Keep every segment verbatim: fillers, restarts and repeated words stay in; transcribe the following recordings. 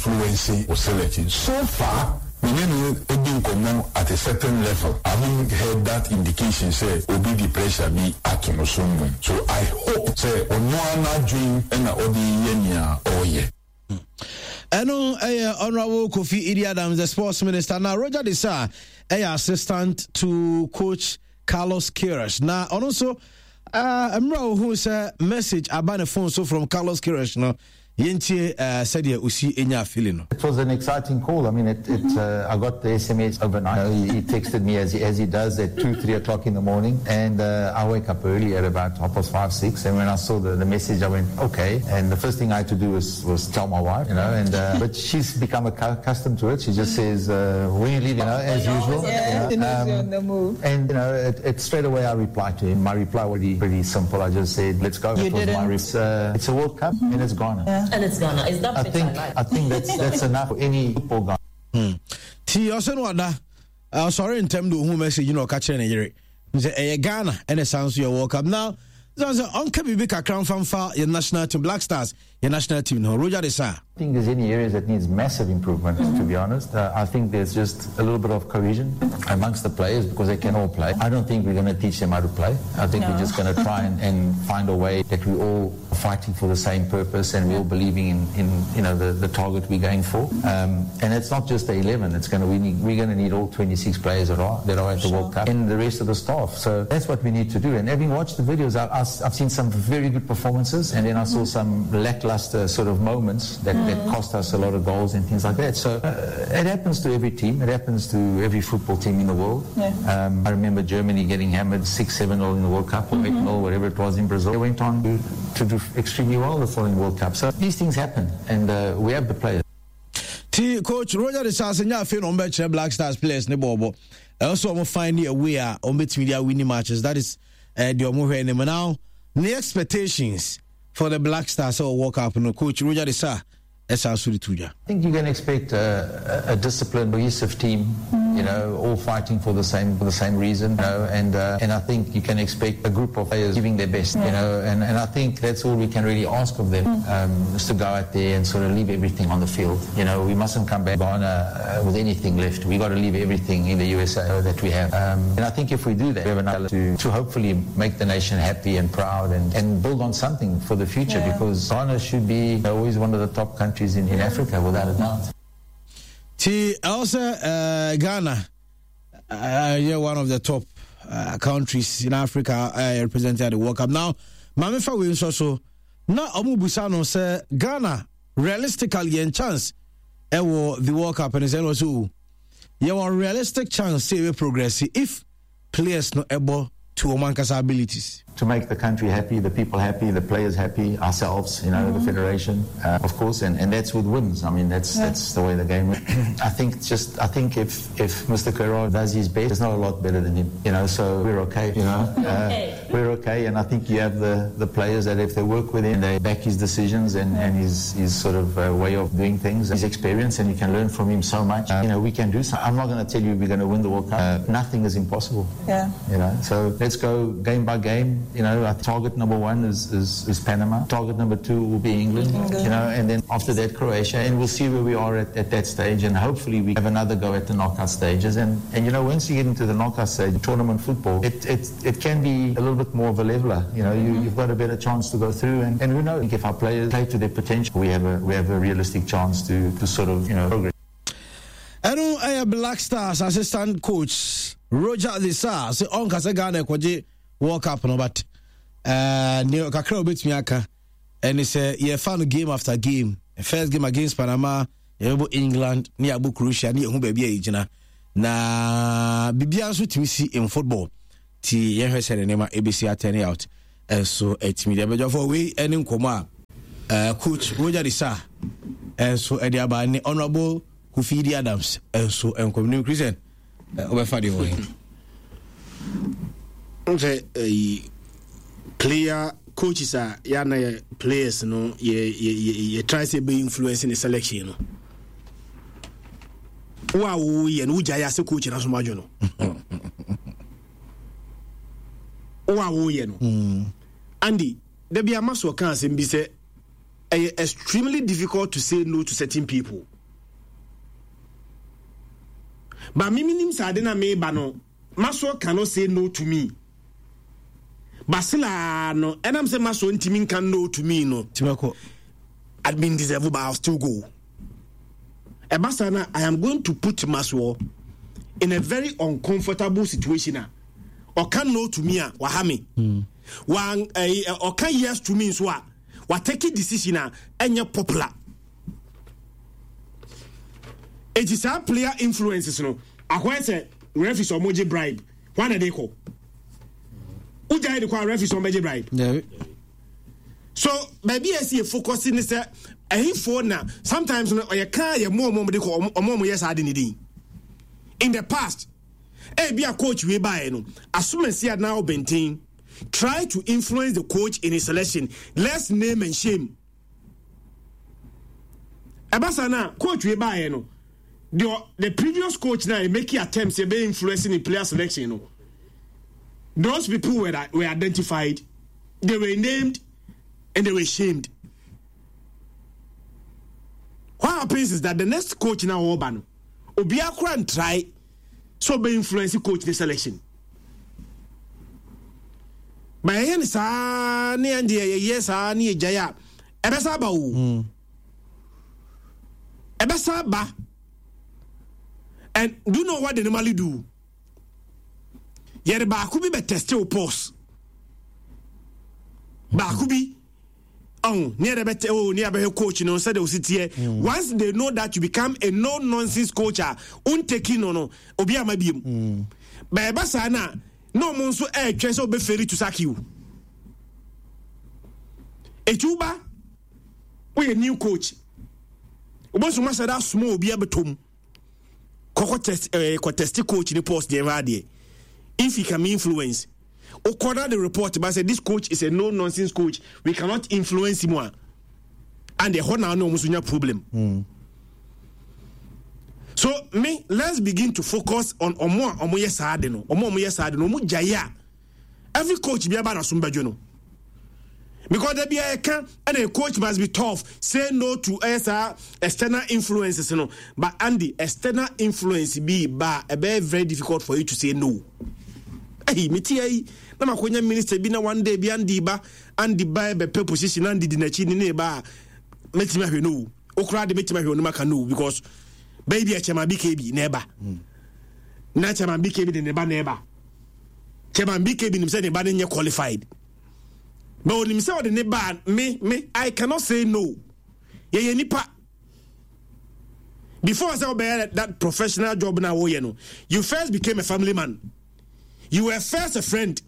influence wo selection. So far, me ne no di nkɔmmɔ at a certain level, I haven't heard that indication sɛ obi de pressure bi ato no so mmom. So I hope sɛ ɔno ara n'adwen na ɔde reyɛ nea ɔreyɛ. Ɛno ɛyɛ Honourable Kofi Idi Adams, the sports minister. Na Roger De Sa ɛyɛ assistant to coach Carlos Queiroz. Na ɔno nso uh, mmerɛ a ohun sɛ message aba ne phone so from Carlos Queiroz no, yɛntie uh, sɛdeɛ osi enya feeling no. It was an exciting call. I mean, it, it, uh, I got the S M S overnight. You know, he, he texted me as he, as he does at two, three o'clock in the morning. And uh, I wake up early at about half past five, six. And when I saw the, the message, I went, "Okay." And the first thing I had to do was, was tell my wife, you know, and uh, but she's become accustomed to it. She just says, uh, "When you leave," you know, as usual. Yeah, you know. Um, on the move. And, you know, it, it straight away I replied to him. My reply was pretty, pretty simple. I just said, "Let's go." You That was my didn't? It's, uh, it's a World Cup and it's Ghana. Yeah. And it's Ghana. Is that I pitch think I like? I think that's that's enough for any football guy. Ti ɔsɛ no ɔda ɔsɔre ntɛm de ohun message na ɔka kyerɛ ne yere sɛ ɛyɛ Ghana ɛna san so yɛ World Cup. Now sɛ sɛ ɔnka biribi kakra mfamfa yɛ national team, Black Stars, yɛ national team no, Roger De Sa. I think there's any areas that needs massive improvement, to be honest. Uh, I think there's just a little bit of cohesion amongst the players because they can all play. I don't think we're going to teach them how to play. I think No. We're just going to try and, and find a way that we all are fighting for the same purpose and we're all believing in, in you know, the, the target we're going for. Um, and it's not just the eleven. It's going to, we need, we're going to need all twenty-six players that are, that are at the World Cup and the rest of the staff. So that's what we need to do. And having watched the videos, I, I've seen some very good performances, and then I saw some lackluster sort of moments that, that cost us a lot of goals and things like that. So uh, it happens to every team. It happens to every football team in the world. Yeah. Um, I remember Germany getting hammered six, seven nil in the World Cup or eight nil, whatever it was in Brazil. They went on to, to do extremely well the following World Cup. So these things happen, and uh, we have the players. Ti coach Roger De Sa sɛ nyɛ afei na ɔmbɛkyerɛ Black Stars players ne bɔɔbɔ, ɛwɔ sɛ ɔmo find a way a ɔmbɛtumi de awin matches. That is uh, deɛ ɔmo hwɛ anim. Now ne expectations for the Black Stars sɛ World Cup no, coach Roger De Sa ɛsan so de to dwa. I think you can expect a, a, a disciplined, cohesive team. You know, all fighting for the same for the same reason. You know, and uh, and I think you can expect a group of players giving their best. You know, and, and I think that's all we can really ask of them, um, is to go out there and sort of leave everything on the field. You know, we mustn't come back Ghana uh, with anything left. We got to leave everything in the U S A that we have. Um, and I think if we do that, we have enough to to hopefully make the nation happy and proud and, and build on something for the future Yeah. because Ghana should be always one of the top countries in, in Africa, without a doubt. Ti ɛwɔ sɛ uh, Ghana uh, yɛ one of the top uh, countries in Africa uh, represented at the World Cup. Now maame fa wei nso so na ɔmo busa no sɛ Ghana realistically yɛn chance ɛwɔ the World Cup no sɛ ɛna ɔsɛ o yɛwɔ realistic chance sɛ yɛbɛ progress if players no ɛbɔ to wɔn ankasa abilities. To make the country happy, the people happy, the players happy, ourselves, you know, the federation, uh, of course, and, and that's with wins. I mean, that's Yeah. that's the way the game is. I think just I think if if Mister Queiroz does his best, there's not a lot better than him, you know. So we're okay, you know. Okay. Uh, we're okay, and I think you have the, the players that if they work with him, they back his decisions and, and his his sort of uh, way of doing things, his experience, and you can learn from him so much. Uh, you know, we can do so. I'm not going to tell you we're going to win the World Cup. Uh, nothing is impossible. Yeah. You know, so let's go game by game. You know, our target number one is, is, is Panama. Target number two will be England, England. You know, and then after that Croatia, and we'll see where we are at, at that stage. And hopefully we have another go at the knockout stages. And, and you know, once you get into the knockout stage, tournament football, it, it, it can be a little bit more of a leveler. You know, you, you've got a better chance to go through. And, and who knows, if our players play to their potential, we have a, we have a realistic chance to, to sort of, you know, progress. Ɛno ɛyɛ Black Stars assistant coach Roger De Sa sɛ ɔnka sɛ Ghana ɛkɔgye World Cup no, but uh, ne kakra a wobɛtumi aka ɛne sɛ yɛfa no game after game. First game against Panama, yɛbɛbɔ England ne yɛabɔ Croatia ne yɛhu baabi a yɛgyina na biribiara nso tumi si in football, nti yɛhwɛ sɛ ne nneɛma ɛbɛsi aturn out. Ɛnso ɛtumi deɛ bɛdwafoɔ wei ɛne nkɔmmɔ a uh, coach Roger De Sa ɛnso ɛde aba ne Honorable Kofi Idi Adams ɛnso nkɔmmɔ ne Christian wobɛfa deɛ wɔ he. Sɛ ɛyi player coaches a yɛana yɛ players no yɛ yɛ yɛ yɛ try sɛ ɛbɛ influence ne selection no, wo a woyɛ no wogya yɛ ase coach na so madwo no wo a woyɛ no. Andy, da bi ama so ɔka asɛm bi sɛ ɛyɛ extremely difficult to say no to certain people. But me minim sɛ ade na meba no, Maxwell cannot say no to me. Basila no, ɛnam sɛ Maxwell ntumi nka no to me no. Timako. I mean deserve, but I'll still go. Ɛba saa na I am going to put Maxwell in a very uncomfortable situation a ɔka no to me a waha me. Wan ɛyi ɔka yes to me nso a wa take decision a ɛnyɛ popular. Eti saa player influences no akɔyɛ sɛ referees ɔmo gye bribe wɔn na de kɔ. Wogya de kɔ a referees ɔmo bɛgye bribe. Yeah. So baabi a ɛsi yɛ focus ne sɛ ɛhinfoɔ na sometimes no ɔyɛ kaa yɛ mo ɔmo de kɔ ɔmo ɔmo yɛ saa de ne din. In the past, ebi a coach wei baeɛ no, asomasi a na ɔbɛnten try to influence the coach in his selection. Let's name and shame. Ɛba saa na coach wei baeɛ no, the the previous coach na making attempts ebe influencing in player selection no. Those people were were identified, they were named, and they were shamed. What happens is that the next coach now ɔba no, obiara kora try so be influence coach the selection. But ɛyɛ ne saa ne yɛn deɛ yɛyɛ saa ne yɛgyae a ɛbɛsa aba o. Ɛbɛsa aba. And do you know what they normally do? Yɛde baako bi bɛ test wo pulse. Baako bi ɔn ne yɛrɛ bɛ tɛ o ne yɛ bɛhwɛ coach no sɛdeɛ osi teɛ. Once they know that you become a no nonsense coach a onteki no no obi ama biem. Bɛɛba saa na na ɔmo nso ɛɛtwɛn sɛ ɔbɛ fail to sack you. Etu ba woyɛ new coach. Obosu ma sɛ da small obi abɛtɔm. Kɔkɔ test ɛɛ kɔ test coach ni pulse deɛ ɛhɔ adeɛ. If he can influence. Okɔda the report but say this coach is a no nonsense coach, we cannot influence him a and ɛhɔ na ɔno ɔmo nso nya problem. So me, let's begin to focus on ɔmo a ɔmo yɛ saa de no, ɔmo a ɔmo yɛ saa de no, ɔmo gyae a every coach bi aba na so mbɛdwo no, because da bia ɛka ɛna a coach must be tough, say no to ɛyɛ saa external influences no. But Andy, external influence bi ba ɛbɛyɛ very difficult for you to say no. Ɛyi mi ti ayi na ma ko nya minister bi na one day bi Andy ba, Andy ba ɛbɛpɛ position, Andy di n'akyi ne ne ba a mɛtumi ahwɛ no o, okura de mɛtumi ahwɛ onum aka no, because bɛyi bi a chairman B K B na ɛba na chairman B K B de ne ba na ɛba, chairman B K B nim sɛ ne ba ne nyɛ qualified, but onim sɛ ɔde ne ba, me me I cannot say no. Yɛyɛ nipa. Before sɛ ɔbɛyɛ that professional job na wɔyɛ no, you first became a family man, you were first a friend,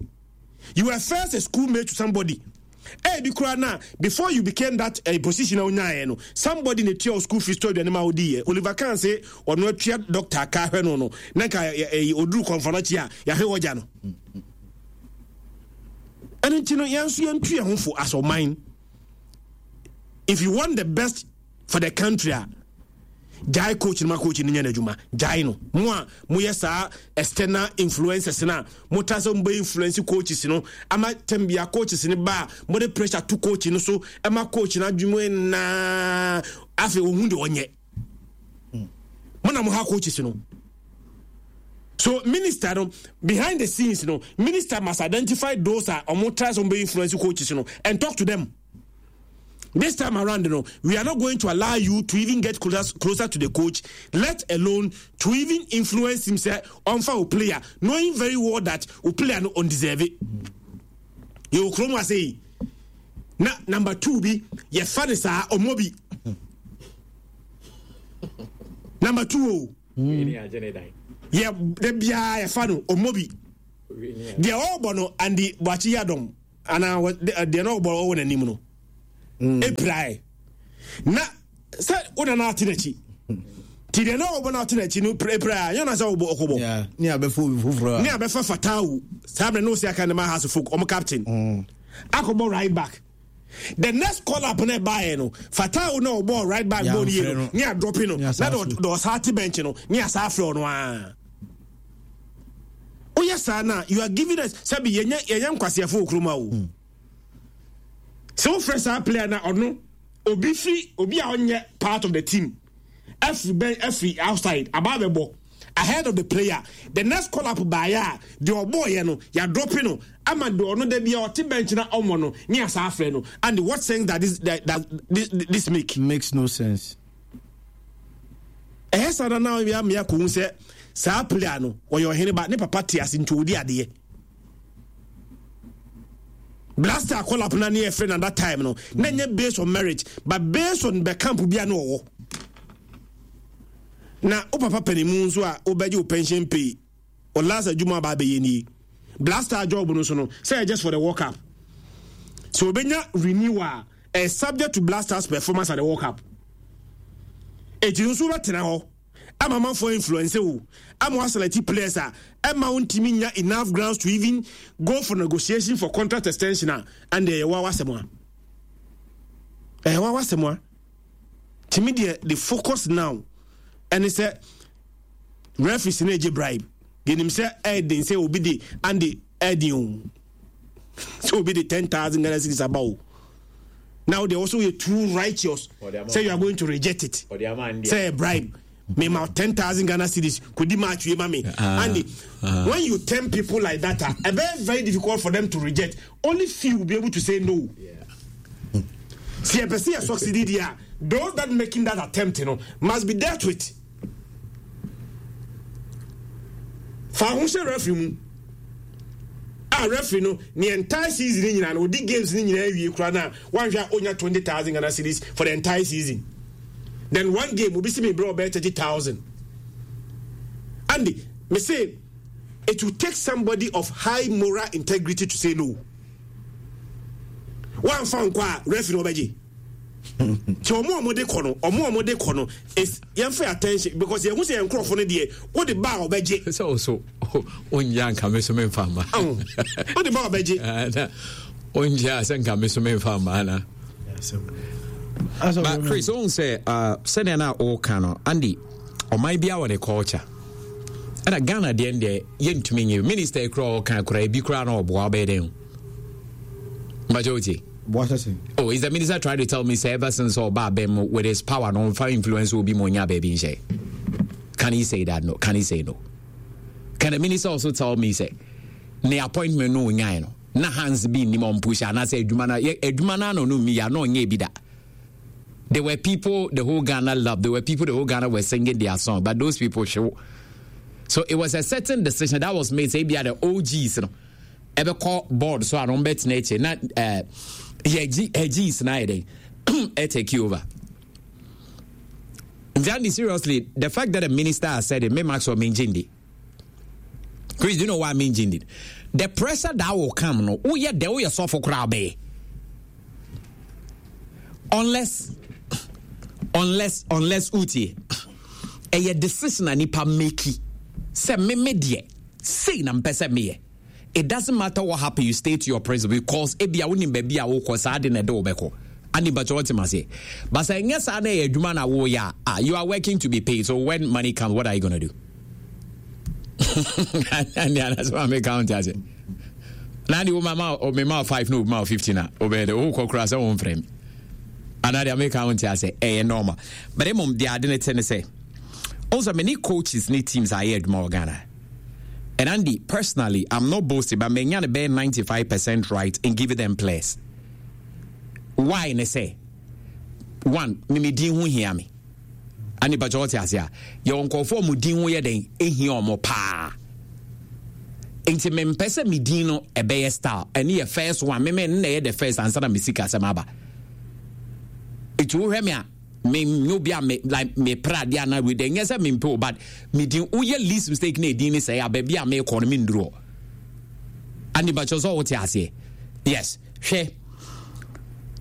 you were first a schoolmate to somebody. Ebi kura na before you became that uh, position a wonyaeɛ no, somebody na tua wo school fees, to aduane ma wodi yɛ. Oliver Kahn sɛ ɔno atua doctor ka hwɛ no no na nka ɔduru kɔnfɔnɔkyi a yɛahwɛ wɔgya no. Ɛno nti no, yɛn nso yɛntu yɛn ho fo as ɔman. If you want the best for the country a, gyae coach no ma coach no nyɛ n'adwuma. Gyae no. Mo a moyɛ saa external influencers no a mota sɛ mobɛ influence coaches no ama tɛm bia coaches no ba a mode pressure to coach no so ɛma coach no adwuma naa afei ɔhu deɛ ɔnyɛ mo na mo ha coaches no. So minister no, behind the scenes no, minister must identify those a ɔmo try sɛ ɔmo bɛ influence coaches no and talk to them. This time around no, we are not going to allow you to even get closer, closer to the coach, let alone to even influence him sɛ ɔnfa o player, knowing very well that o player no undeserve it. Yɛ o kurom ase yi na number two bi yɛfa ne saa ɔmo bi number two o yɛ de biara yɛfa no ɔmo bi deɛ ɔrebɔ no Andy Boakye Yadom anaa deɛ na ɔbɔ ɔwɔ n'anim no epirae na sɛ wona na ate n'akyi nti deɛ na ɔbɔ na ate n'akyi no epirae yɛn na sɛ ɔbɔ ɔkɔbɔ. Ne abɛfa obi foforɔ. Ne abɛfa Fatawu saa abirɛ ne osi aka ne ma Hearts of Oak ɔmo captain akɔbɔ right back. The next call up na ɛbaeɛ no, Fatawu na ɔbɔ right back bɔ ne yie no ne adrɔpi no na de ɔsaa te bench no ne asa afrɛ ɔno aa woyɛ saa na you are giving us sɛbi yɛnyɛ yɛnyɛ nkwasiafo wɔ kurom a o sɛ wofrɛ saa player na ɔno obi firi obi a ɔnyɛ part of the team ɛfiri bɛn ɛfiri outside aba abɛbɔ ahead of the player. The next call up baeɛ a, deɛ ɔbɔɔyɛ no yɛadrop no ama deɛ ɔno da bia ɔte bench na ɔmmɔ no ne asa afrɛ no. And what sense that this, that, that this, this make? Makes no sense. Ɛyɛ saa na na yɛ amea kɔhu sɛ saa player no ɔyɛ ɔhene ba, ne papa te ase nti ɔdi adeɛ. Black Stars call up na ne yɛfrɛ no that time no na nyɛ based on merit but based on the camp bi a na ɔwɔ. Na wo papa panimu nso a wobɛgye wo pension pay, o last adwuma aba abɛyɛ nie. Black Stars job no so no sɛ just for the World Cup, so obɛnya renewal a subject to Black Stars performance at the World Cup. Eti nso wobɛtena hɔ ama amanfoɔ influence wo ama waselect players a ɛma wo ntumi nya enough grounds to even go for negotiation for contract extension a, and ɛyɛ wa wasɛm a ɛyɛ wa wasɛm a. Tìmi deɛ, the focus now ɛne sɛ referees no egye bribe. Yɛnim sɛ ɛɛden sɛ obi de ande ɛɛden o sɛ obi de ten thousand Ghana cedis aba o. Now they also yɛ too righteous say you are going to reject it sɛ bribe. Me ma ten thousand Ghana cedis kò di match wie ma me. Uh, Andy, uh, when you tempt people like that, uh, it's very very difficult for them to reject. Only few will be able to say no. Yeah. See, a person succeeded here. Those that making that attempt, you know, must be dealt with. Fa ho hyɛ referee mu. A referee no ne entire season ni nyinaa no odi games ni nyinaa wie kura na wanhwɛ a onya twenty thousand Ghana cedis for the entire season. Then one game obi si mi brɛ ɔbɛyɛ thirty thousand. Andy, me say it will take somebody of high moral integrity to say no. Wanfa nkɔ a, referee no ɔbɛgye. Nti ɔmo a ɔmo de kɔ no, ɔmo a ɔmo de kɔ no is yɛn fɛ attention because yɛn ho sɛ yɛn nkorɔfo no deɛ, wode ba a ɔbɛgye. Sɛ wo so wonyɛ anka me so memfa mma. Wode ba a ɔbɛgye. Wonyɛ a sɛ nka me so memfa mma ana. But Chris, wohu sɛ uh, sɛdeɛ no a woka no, Andy, ɔman biara wɔ ne culture, ɛna Ghana deɛ deɛ yɛntumi nyɛ. Minister kora ɔka kora ebi kora na ɔboa ɔbɛyɛ dɛn o wotie. Oh, is the minister trying to tell me say ever since ɔba abɛn with his power no ɔnfa influence obi ma onya baabi nhyɛ? Can he say that? No. Can he say no? Can the minister also tell me say ne appointment no onyae no na hands bi nim ɔmpush anaasɛ adwuma no adwuma no ano no mi ya na ɔnyɛ bi da? There were people the whole Ghana loved. There were people the whole Ghana were singing their song, but those people show. So it was a certain decision that was made. Say, be the O Gs, you know, ɛbɛkɔ board so a no mbɛtena akyire na ɛɛ yɛ G Gs na ayɛ dɛ ɛtake over. Nti Andy, seriously, the fact that the minister has said it, me Maxwell mennye nni. Chris, do you know why mennye nni? The pressure that will come no, woyɛ dɛ woyɛ sɔfo koraa bɛyɛ. Unless, unless, unless utie, ɛyɛ decision a nipa make sɛ me me deɛ sei na mpɛ sɛ meyɛ. It doesn't matter what happen, you stay to your principle because ebia wonim baabi a wokɔ saa de na ɛde wobɛkɔ ani bàtɛ wɔte ma se. But sɛ nyɛ saa na ɛyɛ adwuma na woyɛ a, you are working to be paid. So when money comes, what are you gonna do? Ɛne anasɛ ma meka wo nte ase na de wo mama me ma five na obi ma fifteen a wobɛyɛ dɛ wokɔ koraa sɛ womfrɛ me anaa deɛ meka wo nte ase. Ɛyɛ normal, but mmom deɛ ade ne te ne sɛ also many coaches ne teams ayɛ adwuma wɔ Ghana. And Andy, personally, I'm not boasting, but menya be ninety-five percent right in giving them players. Why ne say? One, me me din ho hia me. Ani ba wote ase a, yɛ nkɔfo mo din ho yɛ den ehia ɔmo paa. Nti mempɛ sɛ me din no ɛbɛyɛ style. Ɛne yɛ first one. Me me nna yɛ the first ansa na me sika asɛm aba. Nti wohwɛ me a, me nye obi a me like me pra adeɛ anaa wei deɛ nyɛ sɛ mempɛ o, but me din woyɛ least mistake na edin ne sɛ a baabi a mekɔ no menduru hɔ. Ane bakyɛ sɛ wote aseɛ. Yes, hwɛ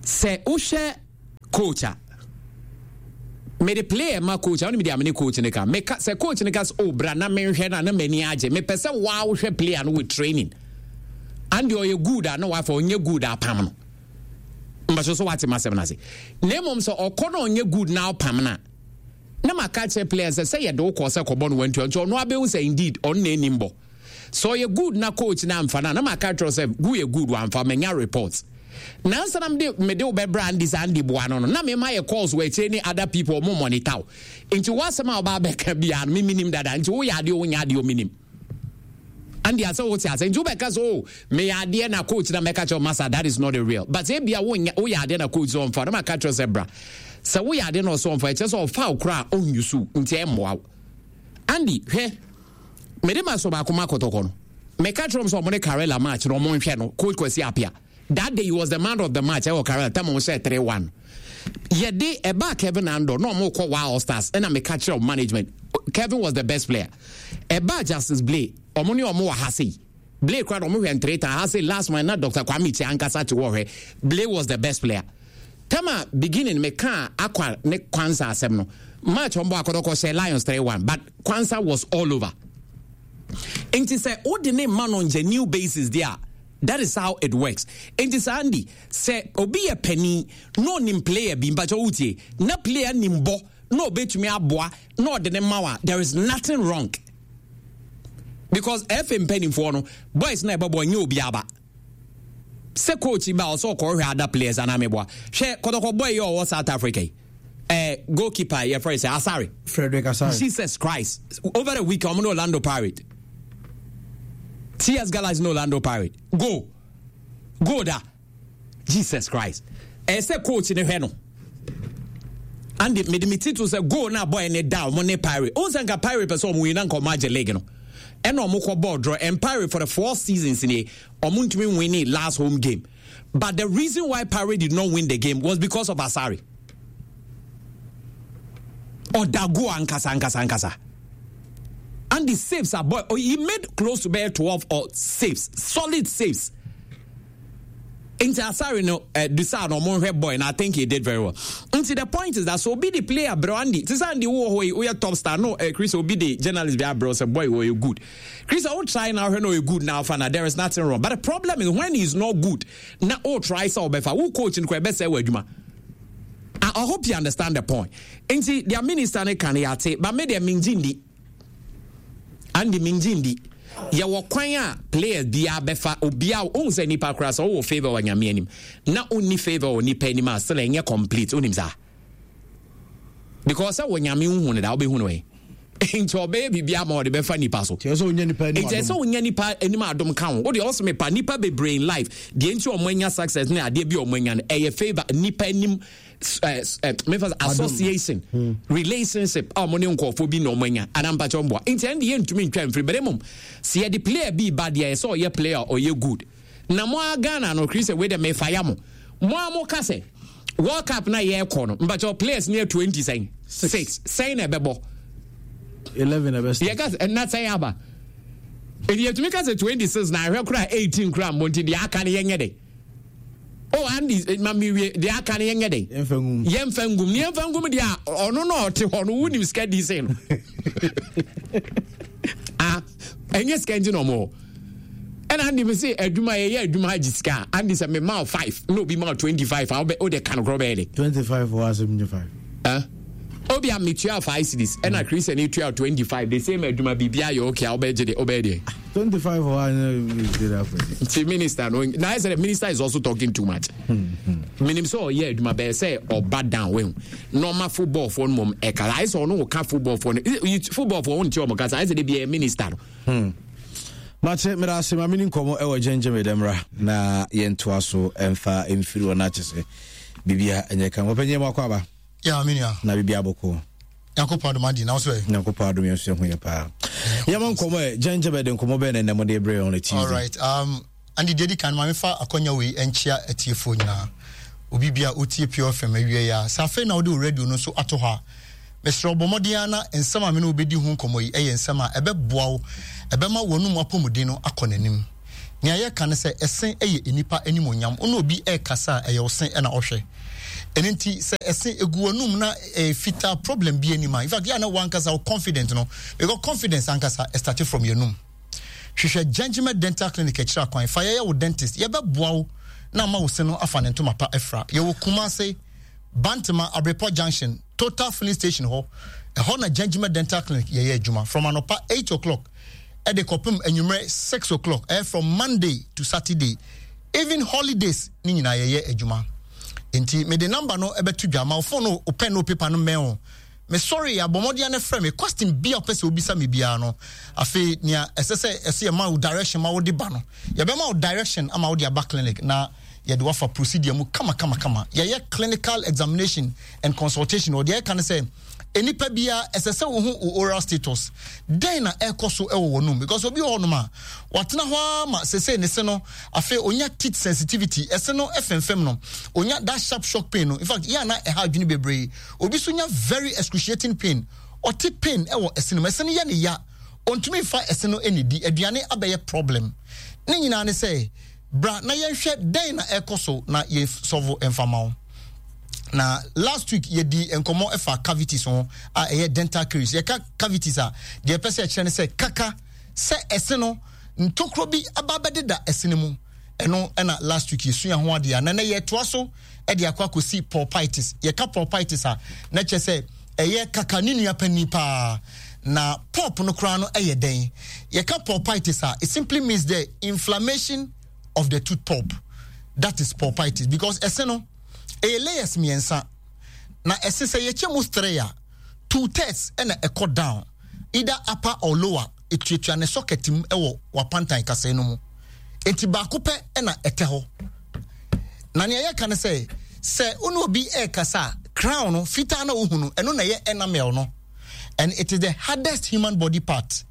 sɛ wohwɛ coach a mede player ma coach a wone mede amene coach ne ka meka sɛ coach ne ka sɛ oh bra na menhwɛ no a na m'ani agye. Mepɛ sɛ waa wohwɛ player no with training and ɔyɛ good a na wafa, ɔnyɛ good a apam no. Mbaso so wate masɛm no ase. Na mmom sɛ ɔkɔ na ɔnyɛ good na ɔpam no a, na maka kyerɛ player sɛ sɛ yɛde wo kɔ sɛ kɔbɔ no wantua nti ɔno abɛhu sɛ indeed ɔno na anim bɔ. Sɛ ɔyɛ good na coach na amfa no a, na maka kyerɛ sɛ gu yɛ good wamfa manya report. Nansa na mede mede wo bɛbrɛ Andy sɛ Andy boa no no na mema yɛ calls wɔ akyire ne other people ɔmo monitor wo. Nti w'asɛm a ɔba abɛka biara no me menim dada nti woyɛ adeɛ o wonyɛ adeɛ o menim. Andy asɛ wote asɛ nti wobɛka sɛ o meyɛ adeɛ na coach na mɛka kyerɛ masa that is not the real but ebia wonyɛ woyɛ adeɛ na coach sɛ ɔmfa na maka kyerɛ sɛ bra sɛ woyɛ adeɛ na ɔsɛ ɔmfa ɛkyerɛ sɛ ɔfa wo koraa ɔnyusu nti ɛmmoa wo. Andy hwɛ mede ma sɔ baako ma kɔtɔkɔ no meka kyerɛ m sɛ ɔmo ne Karela match na ɔmo nhwɛ no coach Kwasi Appiah that day he was the man of the match ɛwɔ Karela tam ɔmo hyɛ three one yɛde ɛbaa Kevin Andor na ɔmo kɔ Wild All Stars ɛna meka kyerɛ management Kevin was the best player ɛbaa Justice Blay ɔmo ne ɔmo wɔ ha sei Blay kora na ɔmo hwɛ ntreta ha sei last man na Doctor Kwame Kyia ankasa te wɔ hwɛ Blay was the best player tama beginning meka akwa ne Kwanza asɛm no match ɔmo bɔ akɔdɔkɔ hyɛ Lions three one but Kwanza was all over nti sɛ wode ne ma no ngyɛ new basis deɛ a that is how it works nti saa Andy sɛ obi yɛ panin na ɔnim player bi mpakyɛ wotie na player nim bɔ na ɔbɛtumi aboa na ɔde ne ma wa there is nothing wrong because F A mpanimfoɔ no boys na ɛbɛbɔ nyɛ obi aba sɛ coach ba ɔsɛ ɔkɔhwɛ other players anaa meboa hwɛ kɔtɔkɔ boy yɛ ɔwɔ South Africa yi eh, goalkeeper yɛ fɛ sɛ Asare Frederick Asare Jesus Christ over the week ɔmo ne Orlando Pirate T S Galaxy ne Orlando Pirate go go da Jesus Christ ɛsɛ coach ne hwɛ no and mede me ti to sɛ goal na boy ne da ɔmo ne Pirate ɔn sɛ nka Pirate pɛ sɛ ɔmo win na nka ɔmo agye league no ɛna ɔmo kɔ ball draw and Pirate for the four seasons nie ɔmo ntumi win last home game but the reason why Pirate did not win the game was because of Asare Odago ankasa ankasa ankasa and the saves are boy oh, he made close to bare twelve or saves solid saves nti Asare no uh, Dusa no ɔmo nhwɛ boy and I think he did very well nti the point is that so be the player bro Andy ti sɛ Andy wo hɔ yi woyɛ top star no uh, Chris obi the journalist bi abrɛ sɛ boy wɔ good Chris I will try now hwɛ no ɔyɛ good now fana there is nothing wrong but the problem is when he is not good na o try sɛ ɔbɛfa wo coach no kɔ ɛbɛsɛ wɔ adwuma I, I hope you understand the point nti their minister ne kan yate but me deɛ mengye ndi Andy mengye ndi yɛwɔ kwan a players biara bɛfa obiara ohun sɛ nipa koraa sɛ ɔwɔ favour wɔ nyame anim na onni favour wɔ nipa anim a still ɛnyɛ complete onim saa because sɛ wɔ nyame nhu no da wobɛhu no ɛ nti ɔbɛyɛ biribi ama ɔde bɛfa nipa so nti ɛsɛ sɛ wonya nipa anim adom ka ho wode ɔsɛ mepa nipa bebree in life deɛ nti ɔmo anya success ne adeɛ bi ɔmo anya no ɛyɛ favour nipa anim mefa association hmm. relationship a ɔmo ne nkurɔfoɔ bi na ɔmo anya anampakyɛ mboa nti ɛno deɛ yɛntumi ntwa mfiri bɛrɛ mom sɛ yɛde player bi ba deɛ ɛsɛ ɔyɛ player ɔyɛ good na mo a Ghana no kiri sɛ wei dɛ mefa ya mo mo a mo ka sɛ World Cup na yɛrekɔ no mpakyɛ players ne yɛ twenty sɛn six sɛn na ɛbɛbɔ eleven ɛbɛ yɛka sɛ ɛna sɛn aba ɛdi yɛtumi ka sɛ twenty six na ahwɛ koraa eighteen koraa mbɔ nti deɛ aka no yɛnyɛ dɛ oh Andy ma mi wie deɛ aka no yɛnyɛ dɛ yɛmfa ngum ne yɛmfa ngum deɛ a ɔno na ɔte hɔ no wonim sika di sɛn no ah ɛnyɛ sika nti na ɔmo hɔ ɛna Andy mi se adwuma yɛyɛ adwuma agye sika Andy sɛ me ma five na obi ma twenty five a wobɛ wode ka no korɔ bɛyɛ de twenty five wɔ asɛm nye five eh? Obi a metua five cedis ɛna Christian tua twenty five the same adwuma biribi ayɛ okay a wobɛgye de wobɛyɛ deɛ twenty five wɔ anyɛ nti minister no na ayɛ sɛ the minister is also talking too much menim sɛ ɔyɛ adwuma bɛyɛ sɛ ɔba down wehu na ɔma football foɔ no mom ɛka ayɛ sɛ ɔno woka football foɔ no football foɔ wonte ɔmo kasa ayɛ sɛ de bi ɛyɛ minister no hmm. Mate meda ase ma mene nkɔmmɔ ɛwɔ gyɛngyɛm ɛdɛmra na yɛntoa so ɛmfa mfiri wɔ no akyɛ sɛ biribia ɛnyɛ ka wɔpɛnyɛ mu akɔ aba ya me nua na biribia bɔkɔ Nyankopɔn adom adi na wo so ɛ Nyankopɔn adom yɛn so yɛ ho yɛ paa yɛma nkɔmmɔ ɛ gyɛngyɛm ɛde nkɔmmɔ bɛn na ɛnɛ mode brɛ on a Tuesday All right um Andy deɛ di kan ma mefa akɔnya wei nkyia atiefoɔ nyinaa obi bia otie Pure F M awie ya sɛ afei na wode wo radio no nso ato hɔ a mesrɛ wo bɔ mmɔden ara na nsɛm a me ne wo bɛdi ho nkɔmmɔ yi yɛ nsɛm a ɛbɛboa wo, ɛbɛma w'anom apɔmuden no akɔ n'anim. Nea yɛreka ne sɛ, ɛse yɛ nnipa animuonyam. Wo ne obi rekasa a, ɛyɛ wo se na ɔhwɛ. Ɛno nti, sɛ ɛse egu w'anum na ɛyɛ fitaa, problem bi anim a, in fact, yɛ a na w'ankasa wo confident no, because confidence ankasa ɛstarte from yɛnum. Hwehwɛ Gengima Dental Clinic akyiri akwan, fa yɛyɛ wo dentist, yɛbɛboa wo na ama wo se no afa ne ntoma pa afira. Yɛwɔ Kumase, Bantama, Abrepɔ Junction, Total Filling Station hɔ. Ɛhɔ na Gengima Dental Clinic yɛyɛ adwuma from anɔpa eight o'clock ɛde kɔpem anwummerɛ six o'clock. Ɛyɛ from Monday to Saturday. Even holidays ne nyinaa yɛyɛ adwuma. Nti mede number no ɛbɛto dwa ma wo phone no, wo pen no, paper no mmɛn o. Me sorry, abɔ mmɔden ne frɛ me question bi a wopɛ sɛ wobisa me biara no. Afei nea ɛsɛ sɛ ɛsɛ yɛma wo direction ma wode ba no, yɛbɛma wo direction ama wode aba clinic na yɛde wafa procedure mu kama kama kama. Yɛyɛ clinical examination and consultation. Ɔdeɛ ɛka ne sɛ nipa biara ɛsɛ sɛ wohu wo oral status, dɛn na ɛkɔ so ɛwɔ wɔn because obi wɔ hɔnom a watena hɔ ama sese ne se no, afei onya teeth sensitivity, ɛse no ɛfɛnfɛm no, onya that sharp shock pain no. In fact, yɛn ana ɛha adwene bebree. Obi so nya very excruciating pain, ɔte pain ɛwɔ ɛse no mu, ɛse no yɛ ne ya, ontumi nfa ɛse no ɛnidi, aduane abɛyɛ problem. Ne nyinaa ne sɛ bra na yɛnhwɛ dɛn na ɛkɔ so na yɛn solve mfama wo. Na last week yɛdi nkɔmmɔ ɛfa cavities ho a ɛyɛ dental caries. Yɛka cavities a, deɛ ɛpɛ sɛ ɛkyerɛ ne sɛ kaka sɛ ɛse no ntokuro bi aba bɛdeda ɛse no mu. Ɛno ɛna last week yɛsua ho adeɛ a na nɛ yɛtoa so ɛde akɔ akɔsi pulpitis. Yɛka pulpitis a, na kyerɛ sɛ ɛyɛ kaka ne nua panin paa. Na pulp no koraa no ɛyɛ dɛn? Yɛka pulpitis a, it simply means the inflammation of the tooth pulp. That is pulpitis, because ɛse no ɛyɛ layers mmiɛnsa na ɛse sɛ yɛkyɛ mu three a, two thirds ɛna ɛkɔ down, either upper or lower, etuatua ne socket mu ɛwɔ wapantan kasɛɛ no mu. Nti baako pɛ ɛna ɛtɛ hɔ. Na nea yɛka ne sɛ sɛ wo ne obi ɛrekasa a, crown no fitaa na wohu no, ɛno na ɛyɛ enamel no, and it is the hardest human body part,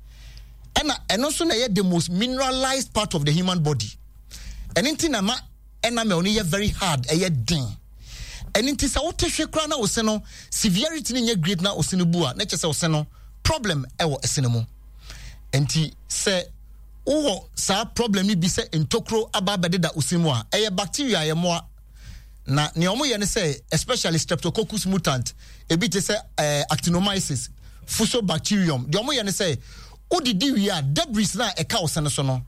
ɛna ɛno nso na ɛyɛ the most mineralized part of the human body. Ɛno nti na ma enamel no yɛ very hard, ɛyɛ den. Ɛno nti sɛ wote hwe koraa na wo se no severity no nyɛ great na wo se no bu a, na kyerɛ sɛ wo se no problem ɛwɔ ɛse no mu. Nti sɛ wowɔ saa problem no bi sɛ ntokuro aba abɛdeda wo se mu a, ɛyɛ bacteria, ɛyɛ mmoa. Na nea wɔn yɛ no sɛ especially Streptococcus mutant, ebi te sɛ ɛɛ Actinomyces, Fusobacterium, deɛ wɔn yɛ no sɛ wodidi wie a, debris na ɛka wo se no so no,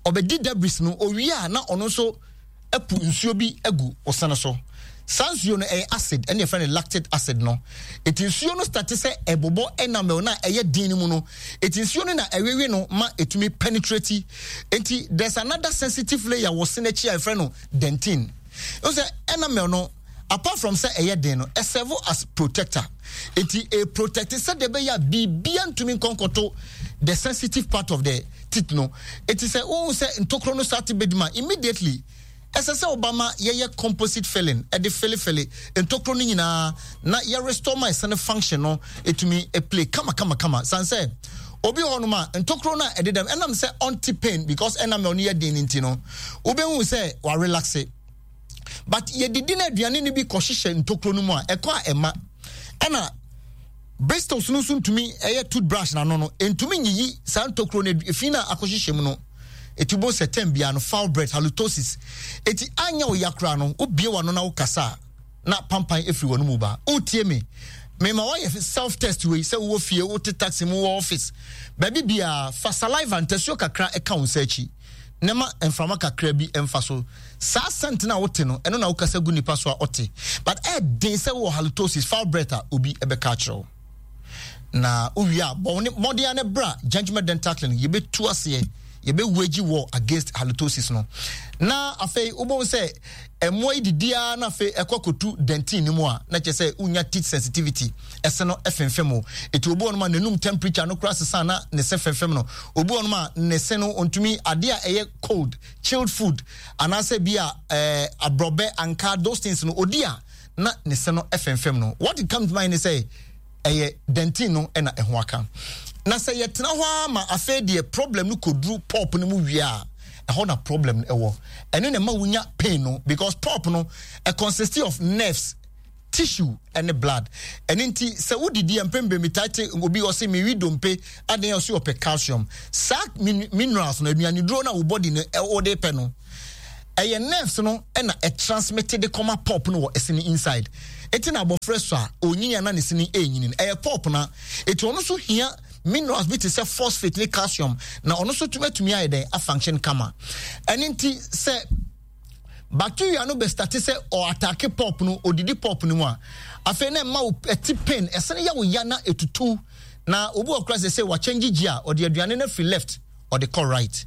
ɔbɛdi debris no owie a, na ɔno nso apu nsuo bi agu wo se no so. Saa nsuo no ɛyɛ acid, ɛne yɛfrɛ no lactic acid no. Eti nsuo no start sɛ ɛbobɔ enamel na ɛyɛ den no mu no, eti nsuo no na ɛwewe no ma etumi penetrate. Eti there's another sensitive layer wɔ se n'akyi a yɛfrɛ no dentin. N sɛ enamel no, apart from sɛ ɛyɛ den no, ɛserve as protector. Eti e protect sɛdeɛ ɛbɛyɛ a biribia ntumi nkɔnkɔto the sensitive part of the teeth no. Eti sɛ wohu sɛ ntokuro no start bɛdi ma, immediately ɛsɛ sɛ woba ma yɛyɛ composite filling, ɛde filifili ntokuro no nyinaa na yɛ restore ma ɛsɛ no function no ɛtumi play kama kama kama. San sɛ obi wɔ hɔnom a ntokuro no a ɛdedam, ɛnam sɛ ɔnte pain because enamel no yɛ den no nti no, wobɛhu sɛ warelaxe, but yɛdidi no aduane no bi kɔhyehyɛ ntokuro no mu a, ɛkɔ a ɛma ɛna bristles no nso ntumi ɛyɛ toothbrush n'ano no ntumi nyiyi saa ntokuro no efi na akɔhyehyɛ mu no. Eti bo sɛ tɛm bia no foul breath, halitosis. Eti anya wo yakora no, wobie w'ano na wokasa a, na pampan efiri wɔn mu ba. Wotie me, mema wayɛ self test wei sɛ wowɔ fie, wote taxi mu, wɔ office, baabi biara, fa saliva ntasuo kakra ɛka wo nsa akyi na ma mframa kakra bi mfa so. Saa scent na wote no, ɛno na wokasa gu nipa so a ɔte. But ɛden sɛ wowɔ halitosis, foul breath a, obi ɛbɛka akyerɛ wo. Na wowie a, bɔ mmɔden a ne bra Gentleman Dental Clinic, yɛbɛtu aseɛ, yɛbɛwage war against halitosis no. Na afei wobɛhu sɛ mmoa yi didi ara na afei ɛkɔ akɔtu dentin no mu a, na kyerɛ sɛ wonya teeth sensitivity, ɛse no ɛfemfem o. Ɛti obi wɔ nom a n'anum temperature no koraa sesa na ne se femfem no. Obi wɔ nom a ne se no ɔntumi adeɛ a ɛyɛ cold, chilled food anaasɛ bi a ɛɛ aborɔbɛ, anka, those things no odi a na ne se no ɛfemfem no. What it comes to mind ne sɛ ɛyɛ dentin no ɛna ɛho aka. Na sɛ yɛtena hɔ ara ma afei deɛ problem no kɔduru pulp no mu wie a, ɛhɔ na problem no ɛwɔ. Ɛno na ɛma wonya pain no, because pulp no ɛ consist of nerves, tissue ɛne blood. Ɛno nti sɛ wodidi a, mpɛn bebree metaa te obi ɔse mewi dompe adan, ɔse ɔpɛ calcium. Saa minerals no, aduaneduro no a wo body no ɛwɔ pɛ no, ɛyɛ nerves no ɛna ɛtransmit de kɔma pulp no wɔ ɛse no inside. Eti na abɔfra so a onyini a na ne se no ɛnyini no, ɛyɛ pulp na eti ɔno nso hia minerals bi te sɛ phosphate ne calcium na ɔno nso tumi atumi ayɛ dɛn afunction kama. Ɛne nti sɛ bacteria no bɛstart sɛ ɔattack pulp no, odidi pulp no mu a, afei na ɛma wo ɛte pain, ɛsene yɛ wo ya na etutu. Na obi wɔ kora sɛ sɛ wakyɛngye gyi a, ɔde aduane no afiri left ɔde kɔ right.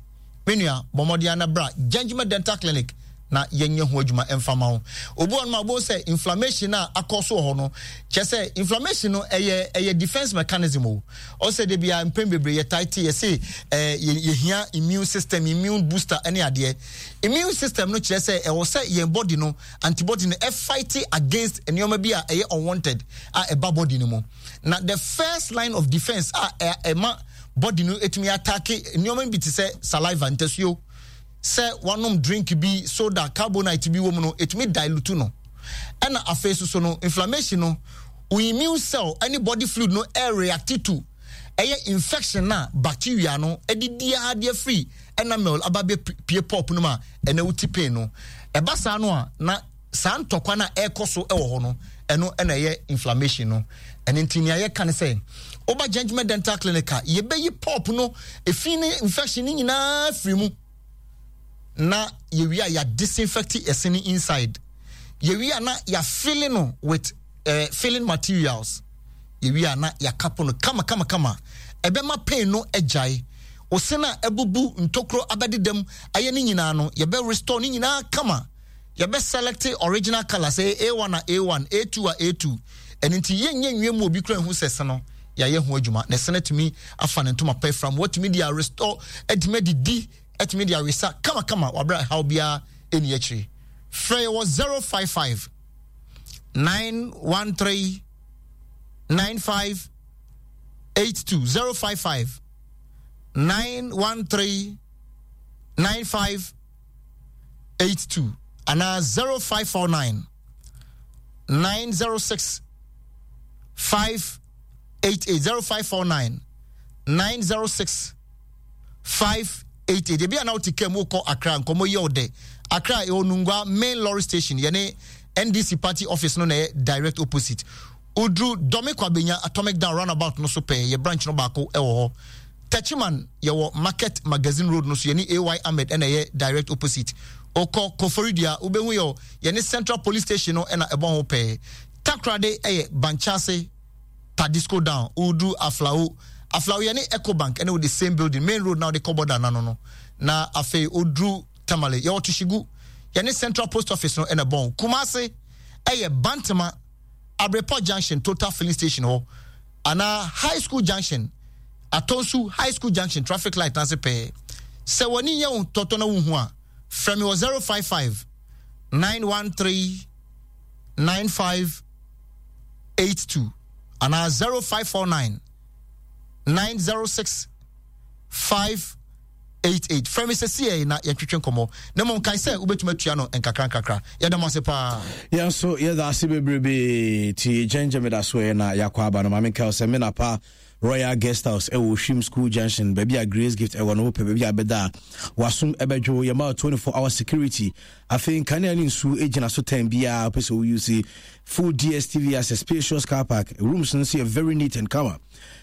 Me nua, bɔ mmɔden ana bra Gentleman Dental Clinic na yɛnyɛ ho adwuma ɛmfa ma wo. Obi wɔ no ma wobɛhu sɛ inflammation a akɔ so wɔ hɔ no, kyerɛ sɛ inflammation no ɛyɛ ɛyɛ defense mechanism o. Ɔsɛ de bia mpɛn bebree yɛtae te yɛse ɛɛ yɛhia immune system, immune booster ɛne adeɛ. Immune system no kyerɛ sɛ ɛwɔ sɛ yɛn body no antibody no ɛfight against nneɛma bi a ɛyɛ unwanted a ɛba body no mu. Na the first line of defense a ɛma body no etumi attack nneɛma bi te sɛ saliva, ntasuo, sɛ wanom drink bi, soda, carbonite bi wɔ mu no, etumi dilute no. Ɛna afei soso no, inflammation no, wo immune cell ɛne body fluid no ɛreact to ɛyɛ infection na bacteria no ɛde di adeɛ firi enamel aba bɛ pie pulp no mu a ɛna wuti pain no. Ɛba saa no a, na saa ntɔkwa no a ɛrekɔ so wɔ hɔ no, ɛno ɛna ɛyɛ inflammation no. Ɛno nti nea yɛka ne sɛ woba Gentleman Dental Clinic a, yɛbɛyi pulp no efi ne infection no nyinaa firi mu, na yɛwie a yɛadisinfect ɛse no inside. Yɛwie a na yɛafilling no with uh, filling materials. Yɛwie a na yɛakapo no kama kama kama. Ɛbɛma pain no agyae. Ose no a abubu ntokuro abɛdedam ayɛ ne nyinaa no, yɛbɛ restore ne nyinaa kama. Yɛbɛ select original colour sɛ A one a A one, A two a A two. Ɛno nti yɛnyɛ nwie mu obi kura nhu sɛ se no yɛayɛ ho adwuma, na ɛse no atumi afa ne ntoma pa afira mu, watumi de arestore, atumi adidi, atumi de awesa kamakama wabrɛ haw biara ɛni akyire. Frɛ yɛ wɔ zero five five nine one three nine five eight two, zero five five nine one three nine five eight two anaa zero five four nine nine zero six five eight eight, zero five four nine nine zero six five eight eight. Ebi a na wote kaa mu wokɔ Accra, nkɔmmɔ yi ɔdɛ Accra, ɛwɔ Nungua main lorry station, yɛne N D C party office no na ɛyɛ direct opposite. Oduru Dɔme Kwabenya Atomic Down roundabout no so pɛɛ, yɛ branch no baako ɛwɔ hɔ. Techiman, yɛwɔ Market Magazine Road no so, yɛne A Y Ahmed ɛna ɛyɛ direct opposite. Okɔ Koforidua, wobɛhu yɛ yɛne Central Police Station no ɛna ɛbɔ ho pɛɛ. Takorade ɛyɛ Bankyase Tadisco Down. Woduru Aflao, Aflao yɛne Ecobank ɛne wo the same building, main road na wode kɔ border nano no. Na afei oduru Tamale, yɛwɔ Tushigu, yɛne Central Post Office no ɛna ɛbɔn. Kumase ɛyɛ Bantama Abrepɔ Junction, Total Filling Station hɔ anaa High School Junction, Atonsu High School Junction traffic light n'ase pɛɛ. Sɛ w'ani nyɛ wo tɔtɔ na wohu a, frɛ me wɔ zero five five nine one three nine five eight two anaa zero five four nine nine zero six five eight eight. Frɛ me sɛsi yɛ na yɛntwetwe nkɔmmɔ, na mmom kae sɛ wobɛtumi atua no nkakra nkakra. Yɛda mo ase paa. Yɛn nso yɛda ase bebrebe. Ti gyɛngyɛ meda so ɛ na yɛakɔ aba no. Maame nkae sɛ me napa Royal Guest House ɛwɔ Hwim School Junction, baabi a Grace Gift ɛwɔ no. Wopɛ baabi a bɛda a wasom ɛbɛdwo, yɛma twenty-four hour security. Afei nkanea ne nsuo gyina so tan biara wopɛ sɛ wouse full D S T V as a spacious car park. Rooms no nso yɛ very neat and kama,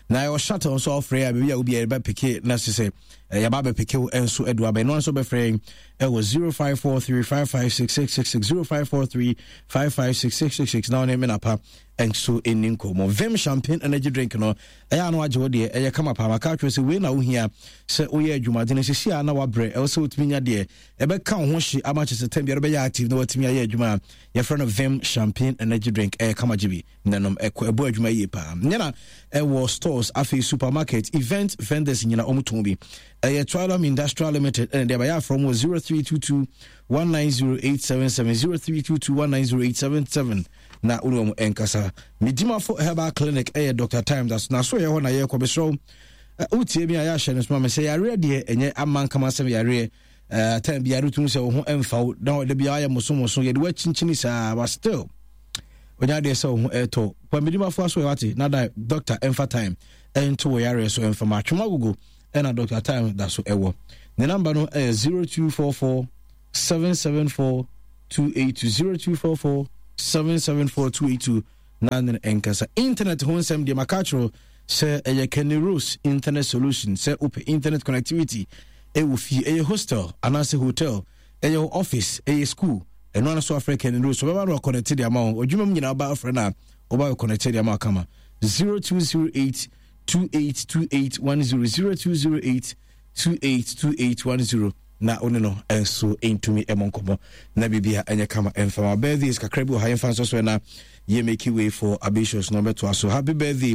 na ɛwɔ shuttle nso a wofrɛ a, baabi a wobiara yɛbɛpeke na sɛ sɛ yɛba bɛpeke wo nso adu aba. Ɛno nso bɛfrɛ ɛwɔ zero five four three five five six six six six, zero five four three five five six six six six, na wone me napa nso ɛni nkɔmmɔ. Vim Champagne Energy Drink no ɛyɛ ano agye wo deɛ, ɛyɛ kama paa. Maka atwerɛ sɛ wei na wohia sɛ woyɛ adwumadene sɛsi a na wabrɛ, ɛwɔ sɛ wotumi nya deɛ ɛbɛka wo ho hye ama kyɛ sɛ tam biara bɛyɛ active na watumi ayɛ adwuma a yɛfrɛ no Vim Champagne Energy Drink. Ɛyɛ kama, gye bi nanom, ɛkɔ ɛbɔ adwuma yie paa. Nyɛ ɛwɔ stores, afei supermarket, event vendors nyina ɔmo tɔn bi. Ɛyɛ Twilom Industrial Limited ɛna deɛ bɛyɛ afrɛ mu wɔ zero three two two one nine zero eight seven seven, zero three two two one nine zero eight seven seven, na wone wɔn ɛnkasa. Medimafo Herbal Clinic ɛyɛ Doctor Time das na so yɛ hɔ na yɛkɔ. Bɛsrɛ wo, wotie mi a, yɛahyɛ no soma me sɛ yareɛ deɛ ɛnyɛ ama nkama sɛm yareɛ uh, time biara wotum sɛ wo ho ɛmfa wo na ɔde biara ayɛ mosomoso, yɛde woakyinkyini saa, but still onya adeɛ sɛ wo ho ɛtɔ pa. Medimafo aso ɛwate na da doctor ɛmfa time ɛnto wɔ yareɛ so ɛmfa ma atwoma agogo. Ɛna Doctor Time da so ɛwɔ ne number no ɛyɛ zero two four four seven seven four two eight two, zero two four four seven seven four two eight two, na ne nkasa. Internet ho nsɛm deɛ, maka kyerɛ sɛ ɛyɛ Kenny Rose Internet Solution. Sɛ wopɛ internet connectivity ɛwɔ fie, ɛyɛ hostel anaasɛ hotel, ɛyɛ office, ɛyɛ school, ɛno ano so afrɛ Kenny Rose, ɔbɛba no akɔnɛte de ama wo. Adwuma mu nyinaa woba afrɛ no a, woba bɛkɔnɛte de ama kama. zero two zero eight two eight two eight one zero, zero two zero eight two eight two eight one zero. Na wo ne no nso ntumi mmɔ nkɔmmɔ na biribia ɛnyɛ kama ɛmfa ma. Birthdays kakra bi wɔ ha, yɛmfa nso so na yɛ make way for Abatius na ɔbɛtoa so. Happy birthday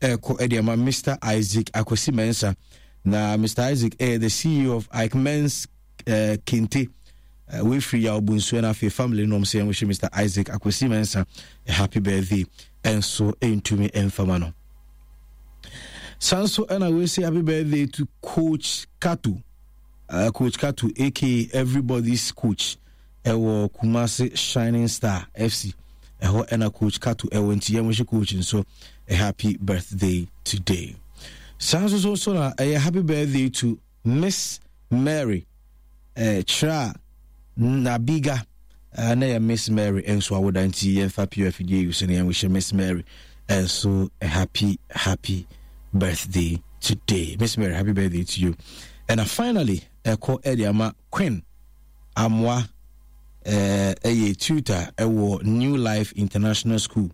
ɛkɔ ɛde ama Mister Isaac Akwasi Mensah. Na Mister Isaac ɛyɛ the C E O of Ike Mens uh, Kente uh, wefiri Yaw Bonsu, na afei family nom sɛ yɛnwohyɛ Mister Isaac Akwasi Mensah a happy birthday ɛnso ɛntumi ɛmfama no. Saa nso ɛna wei happy birthday to Coach Kato, uh, Coach Kato A K A everybody's coach, ɛwɔ Kumasi Shining Star F C. Ɛhɔ ɛna Coach Kato ɛwɔ, nti yɛn wɔhyɛ coach nso a happy birthday today. Saa nso so nso na ɛyɛ happy birthday to Miss Mary eh, Kyerɛ Nabiga, uh, na yɛ Miss Mary nso awoda, nti yɛmfa pure afidie yi so na yɛnwohyɛ Miss Mary nso a happy happy birthday today. Miss Mary, happy birthday to you. And uh, finally, ɛkɔ ɛde ama Queen Amoa, ɛyɛ tutor ɛwɔ New Life International School.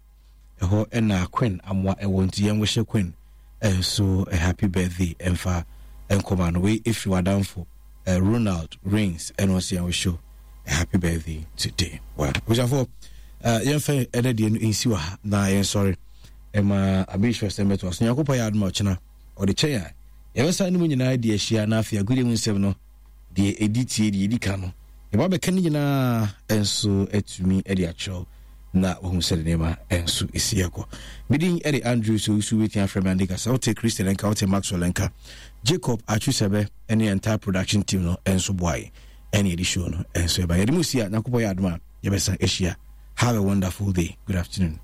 Ɛhɔ ɛna Queen Amoa ɛwɔ, nti yɛn wɔhyɛ Queen ɛnso a happy birthday ɛmfa nkɔma no. Wei efiri wadamfo uh, Ronald Rains, ɛna ɔsɛ yɛn wɔhyɛ a happy birthday today. Well, abusuafo, uh, yɛmfa ɛnɛ deɛ no nsi wɔ ha na yɛnsɔre ɛma abɛhyɛ sɛ mɛto aso. Nyankopɔn yɛ adom a, ɔkyena ɔde kyɛn a, yɛbɛsan no mu nyinaa di ahyia, na afei agodie mu nsɛm no deɛ ɛdi tie deɛ ɛdi ka no yɛba bɛka no nyinaa nso atumi de akyerɛw na wahu sɛde nneɛma nso ɛsi ɛkɔ. Medin ɛde Andrew so wosu wobɛtumi afrɛ me Ande Kasa. Wote Christian nka, wote Maxwell nka, Jacob Atwusɛbɛ ne entire production team no nso boae ɛne yɛde show no nso ɛba. Yɛde mu si a, Nyankopɔn yɛ adom a, yɛbɛsan ahyia. Have a wonderful day. Good afternoon.